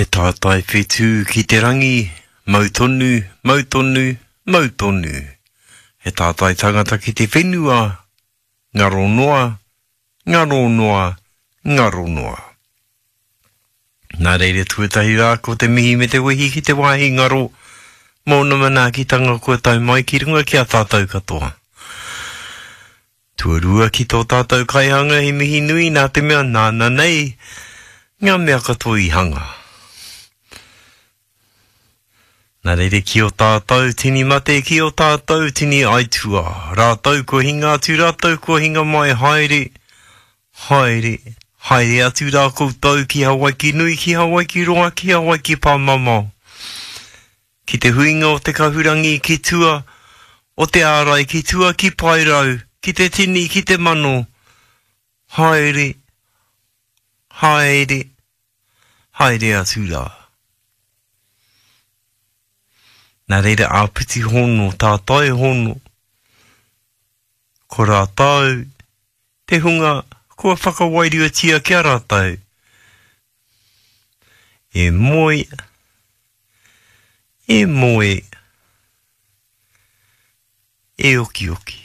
He tātai whetū ki te rangi, mau tonu, mau tonu, mau tonu. He tātai tangata ki te whenua, ngaro noa, ngaro noa, ngaro noa. Nā reira tuatahi rā ko te mihi me te wehi ki te wāhi ngaro mōna manaakitanga kua tae mai ki runga ki a tātou katoa. Tuarua ki tō tātou kaihanga he mihi nui nā te mea nāna nei ngā mea katoa i hanga. Nā reira ki o tātou tini mate, ki o tātou tini aituā, rātou kua hinga atu, rātou kua hinga mai, haere, haere, haere atu rā koutou ki Hawaiki nui, ki Hawaiki roa, ki Hawaiki pāmamao. Ki te huinga o te kahurangi ki tua o te ārai ki tua ki Paerau, ki te tini, ki te mano, haere, haere, haere atu rā. Nā reira āpiti hono, tātai hono, ko rātou te hunga kua whakawairuatia ki a rātou e moe, e moe, e okioki.